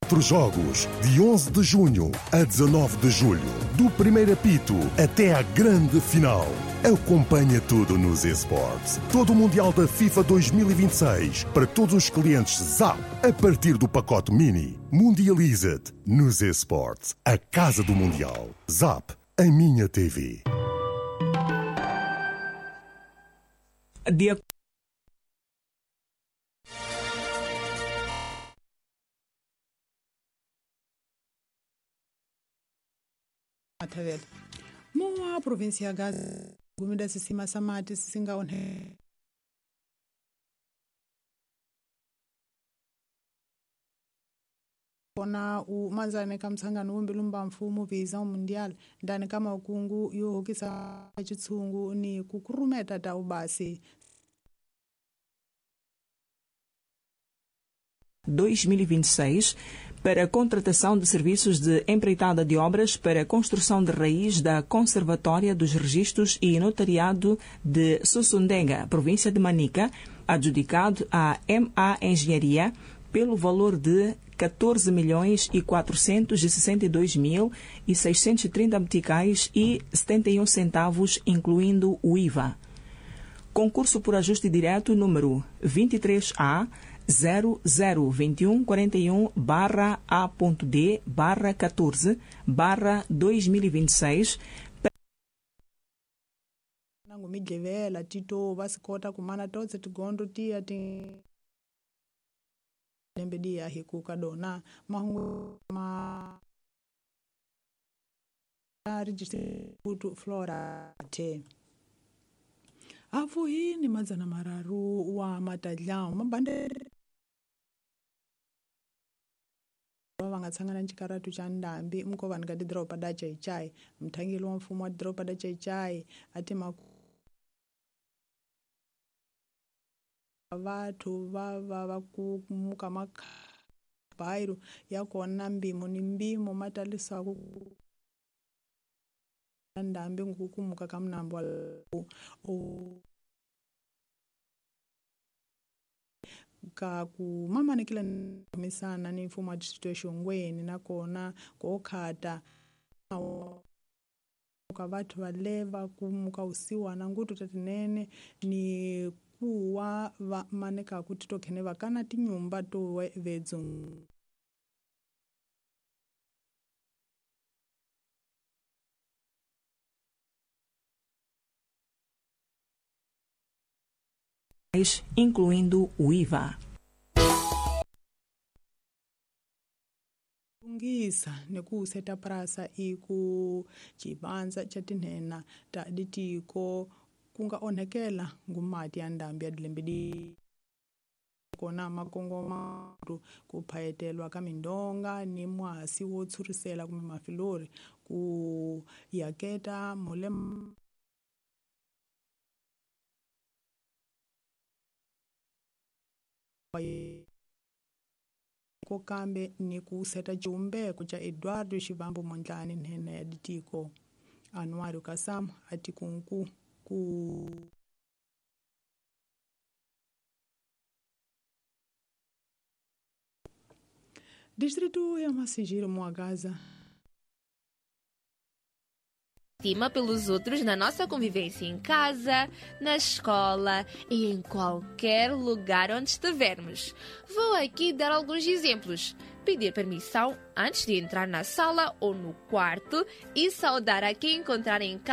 4 jogos, de 11 de junho a 19 de julho, do primeiro apito até à grande final. Acompanha tudo nos eSports. Todo o Mundial da FIFA 2026 para todos os clientes ZAP a partir do pacote Mini. Mundializa-te nos eSports. A casa do Mundial. ZAP, a minha TV. Dia Matavela. Moa província ya Gaza gumida sisima sa mati sisinga onhe kona u manzane ka msangano wumbilumba mfumo visa mundial ndani ka makungu yo hokisa chitshungu ni kukurumeta ta ubasi 2026 para a contratação de serviços de empreitada de obras para a construção de raiz da Conservatória dos Registros e Notariado de Sussundenga, província de Manica, adjudicado à MA Engenharia pelo valor de 14.462.630 meticais e 71 centavos, incluindo o IVA. Concurso por ajuste direto número 23A 002141 A.D 14 2026 nangu midlevela tito va swi kota ku mana totse tigondo tiya ti lembe diya hi ku ka dona mahungu ma register flora te avuhini 300 wa matadlawu mabande va nga tshangana ncikaratu xa ndambi mukovanhu ka tidoroba da Chaichai mthangeli wa mfumo wa tidoroba da Chaichai a ti vathu va va va kumuka makhabairo ya kona mbimo ni mbimo ma talisaku ndambi ngukumuka ka mnambo wa ka ku mamanekile misana ni mfumo wa distrito ya Xongweni nakona kokhata ka vathu valeva kumuka usiwana ngutu tatinene ni kuwa va maneka ku titokhene va kana tinyumba to vedzu incluindo o IVA. Lungisa ni ku seta prasa i ku xivanza xa tinhena ta ditiko ku nga onhekela ngumati ya ndhambi ya dilembe di kona makongoma ku phayetelwa ka mindonga ni mwasi wo tshurisela kumbe mafilori ku yaketa mule ko kambe ni ku seta xivumbeko xa Eduardo Xivambu Mondlane nhenha ya ditiko Anuário Kassam a tikunku ku distrito ya Massingir Muagaza estima pelos outros na nossa convivência em casa, na escola e em qualquer lugar onde estivermos. Vou aqui dar alguns exemplos. Pedir permissão antes de entrar na sala ou no quarto e saudar a quem encontrar em casa.